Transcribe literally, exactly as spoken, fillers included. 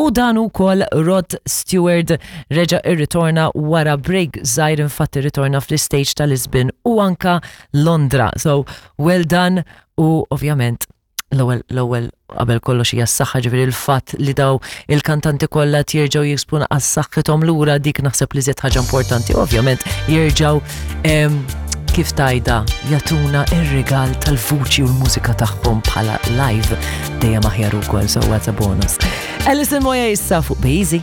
U dan ukoll Rod Stewart reġa' irritorna wara break żgħir, infatti ritorna fl-stage ta' Lisbon u anka Londra. So well done, u ovvjament l-ewwel l-ewwel qabel kollox hija s-saħħa, ġifieri il-fatt li daw il-kantanti kollha jerġgħu jiksbu għas-saħħithom lura, dik naħseb li żied ħaġa importanti. Ovvjament jerġgħu em, kif tajda jagħtuna ir-rigal tal-vuċi u l-mużika tagħhom bħala live dejjem aħjar ukoll, so that's a bonus. Alison Moyet issa fuq Bejzi.